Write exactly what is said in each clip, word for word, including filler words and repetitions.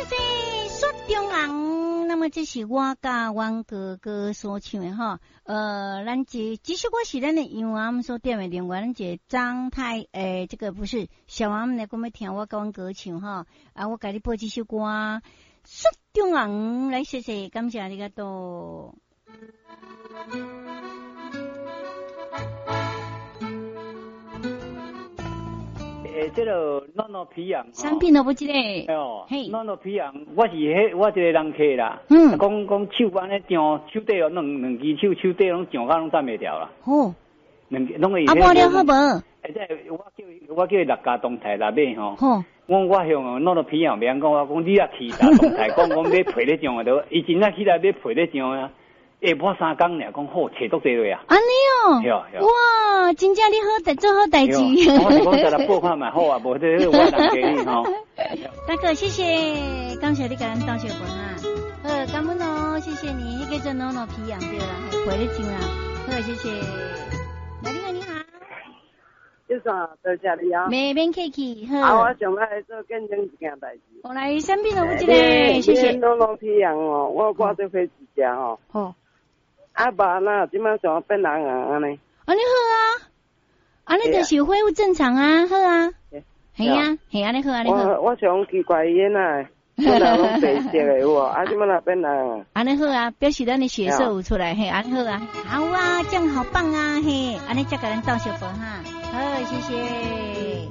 謝謝雪中紅。那麼這是我佮阮哥哥所唱的吼，呃，咱這這首歌是咱的楊阿所點的，另外咱一個張太，欸，這個不是小王來講欲聽我佮阮哥唱吼，啊，我共你播這首歌《雪中紅》，來謝謝，感謝ありがとう。欸，這個暖暖皮痒，啥品都不記得。哦，暖暖皮痒，我是彼，我一個人客啦。嗯。講講手按呢上，手底哦，兩兩支手手底攏上甲攏站袂牢啦。哦。兩攏會。啊，抹了好無？欸，這我叫我叫伊六家動態來買吼。吼。我我向暖暖皮痒袂曉講，我講你若去大動態，講講買皮咧上的，著伊真正起來買皮咧上啊。欸，抹三工爾，講好，揣足濟落啊！按呢哦，哇，真正你好代做好代誌。我是講再來報看嘛好啊，無這我人給你吼。大哥，謝謝，感謝你共咱鬥相報哈。好，感恩哦，謝謝你，彼個做暖暖皮癢對啦，皮咧上啦。好，謝謝。來，你好，你好。先生，多謝你啊。袂免客氣，好。啊，我想欲做見證一件代誌。我來身邊有一個，謝謝。暖暖皮癢哦，我掛做火一隻吼。好。啊，肉哪這擺想變紅紅按呢？按呢好啊，按呢就是恢復正常啊，好啊，係啊，係按呢好，按呢好。我我想奇怪伊哪，本來攏白色的有無？啊，這擺哪變紅？按呢好啊，表示咱的血色有出來，嘿，按呢好啊，好啊，這樣好棒啊，嘿，按呢才共咱鬥相報哈，好，謝謝。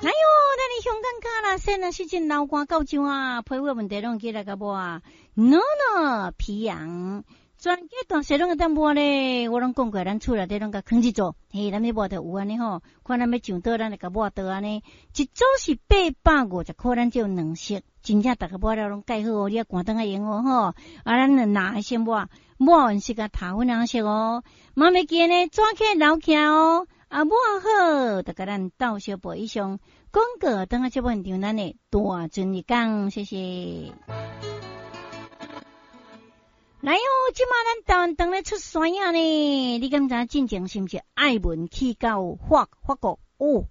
來喲，咱的香港卡啦，現在是真流汗到上啊，皮膚問題攏起來共抹，暖暖皮癢，全家大細攏會當抹咧。我攏講過，咱厝內底攏共囥一組，嘿，咱欲抹著有按呢吼，看咱欲上佗，咱就共抹佗按呢。一組是八百五十箍，咱只有兩色，真正逐个抹了攏蓋好哦，你愛趕轉來用哦吼。啊，咱就拿先抹，抹完是共頭粉紅色哦，嘛袂記呢，紙起來留起來哦。啊，抹好，就共咱鬥相報以上廣告，轉來節目現場，咱的大尊一講，謝謝。來哦，這馬咱台灣當咧出山仔呢？你敢知影進前是毋是愛文去到法法國？哦，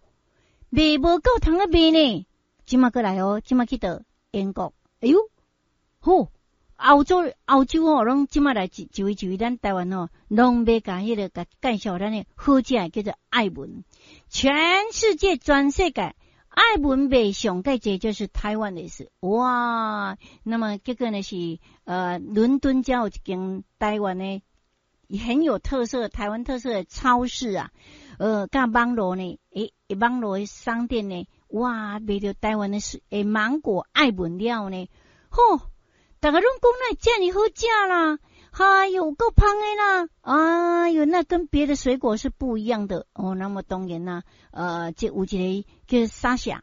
賣無夠通咧賣呢？這馬閣來哦，這馬去到英國。哎喲，好，歐洲歐洲哦，攏這馬來一一位一位，咱台灣哦，攏欲共彼個共介紹咱的好食的叫做愛文，全世界全世界愛文賣上蓋濟就是台灣的事哇！那麼結果呢是呃，倫敦才有一間台灣的很有特色、台灣特色的超市啊，呃，佮網路呢，欸，網路的商店呢，哇，賣著台灣的欸芒果愛文了呢，吼！逐个攏講哪遮爾好食啦，哎喲，夠芳的啦，哎喲，那跟別的水果是不一樣的哦。那麼當然啦，呃，這有一個叫沙夏，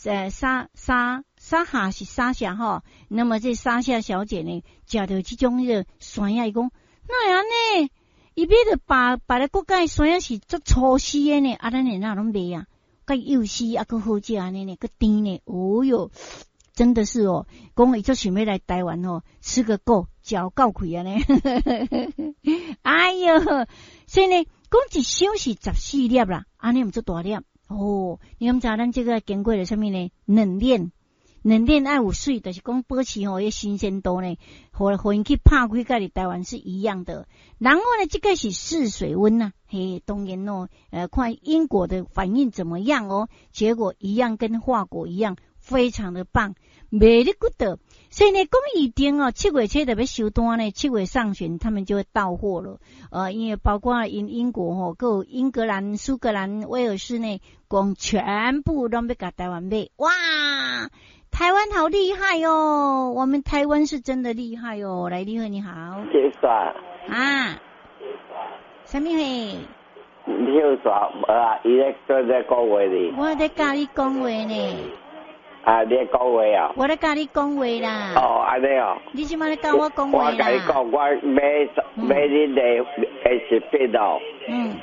呃，沙沙沙哈是沙夏吼。那麼這沙夏小姐呢，食著這種彼個山仔，伊講哪會按呢？伊買著別別个國家的山仔是足粗絲的呢，啊，咱的哪攏袂啊？閣幼絲啊，閣好食按呢呢，閣甜呢，哦喲。真的是哦，講伊足想欲來台灣哦，吃個夠，嚼夠氣按呢。哎喲，所以呢，講一箱是十四粒啦，按呢毋足大粒哦。你敢知咱這個經過了啥物呢？冷鏈，冷鏈愛有水，就是講保持吼彼新鮮度呢，予予𪜶去拍開，佮佇台灣是一樣的。然後呢，這個是試水溫吶，嘿，當然哦，呃，看英國的反應怎麼樣哦，結果一樣跟法國一樣，非常的棒。very good，所以呢，講預定哦，七月初就欲收單呢，七月上旬他們就會到貨了。呃，因為包括英英國吼，閣有英格蘭、蘇格蘭、威爾士呢，講全部攏欲共台灣買。哇，台灣好厲害哦！我們台灣是真的厲害哦。來，你好，你好。謝謝。啊，啥物貨？你有啥？無啊，伊咧做咧講話呢。我咧佮你講話呢。啊！你講話啊？我咧佮你講話啦。哦，按呢哦。你這馬咧佮我講話啦？我共你講，我買買恁的的食品哦。嗯。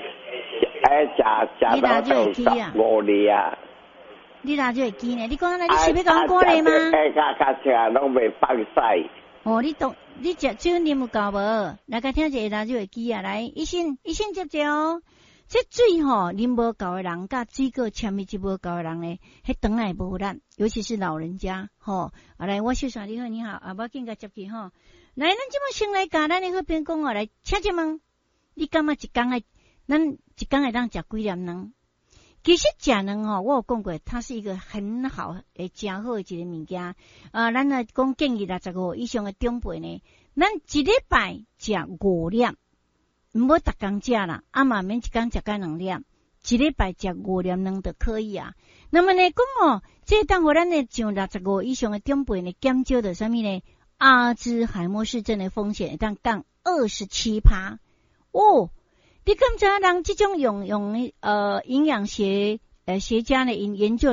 哎，食食到都十五年啊。你哪就會記呢？你講按呢，你是欲共我鼓勵嗎？哎，較較食攏袂放屎。哦，你懂？你食酒啉有夠無？來，共聽一下，就會記啊！來，醫生，醫生接者哦。這水吼啉無夠的人，佮水果纖維質無夠的人呢，彼腸仔會無力，尤其是老人家吼。啊，來，我小說你好，你好，啊，無要緊，共接去吼。來，咱這馬先來共咱的好朋友講哦，來，請一問，你感覺一工愛，咱一工會當食幾粒卵？其實食卵吼，我有講過，它是一個很好、會誠好的一個物件。啊，咱來講建議六十五以上的長輩呢，咱一禮拜食五粒，毋好逐工食啦，啊嘛免一工食甲兩粒，一禮拜食五粒卵就可以啊。那麼呢，講哦，這當予咱的上六十五以上的長輩呢，減少著啥物呢？阿茲海默氏症的風險會當降二十七趴哦。你敢知影人這種用用呃營養學呃學家呢，𪜶研究。